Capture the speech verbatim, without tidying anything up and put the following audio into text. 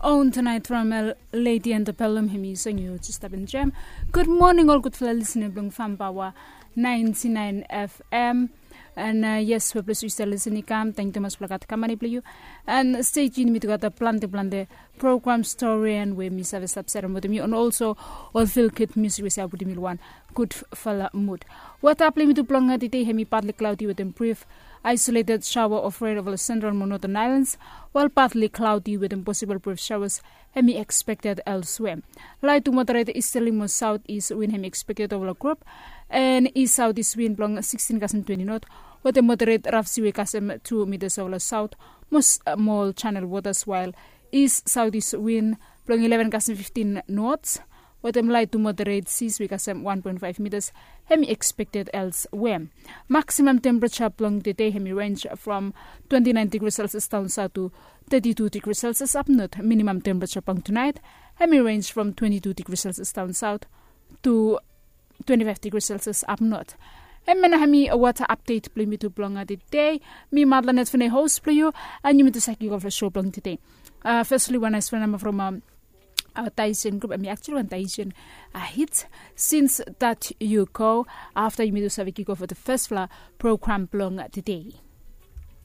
On Tonight from Lady Antebellum, hemi song yu jes stap enjoem. Gud moning ol gudfala listener blong Farm Power ninety nine F M. And uh, yes, we bless you still listening kam. Thank you much blong gat kamani blong yu. And stay tuned, mi tu gat a plante plante program story and we mi save stap serem wetem yu. And also ol feel good music we save putum yu lo wan gudfala mood. Weta blong mi tu blong tede hemi partly cloudy wetem brief isolated shower of rain over the central mo northern islands, while partly cloudy wetem possible brief showers hemi expected elsewhere. Light to moderate easterly mo southeast wind hemi expected over the group, and east southeast wind blong sixteen kasem twenty knot, wetem moderate rough seaway kasem two meters over the south mo small channel waters, while east southeast wind blong eleven kasem fifteen knots, wetem light to moderate seas we kasem one point five meters hemi expected elsewhere. Maximum temperature blong tede hemi range from twenty nine degrees Celsius down south to thirty two degrees Celsius up north. Minimum temperature blong tonight hemi range from twenty two degrees Celsius down south to twenty five degrees Celsius up north. Hemia nao hemi weta update blong mi tu blong tede. Mi Madlanet Fene host blong yu, and yumi tu save kick off show blong tede. Uh, firstly, wan nice phone number from um, our Tahitian group, I mean, actually, one Tahitian uh, hit. Since that you go, after yumi tu save kick off the first fala program blong tede.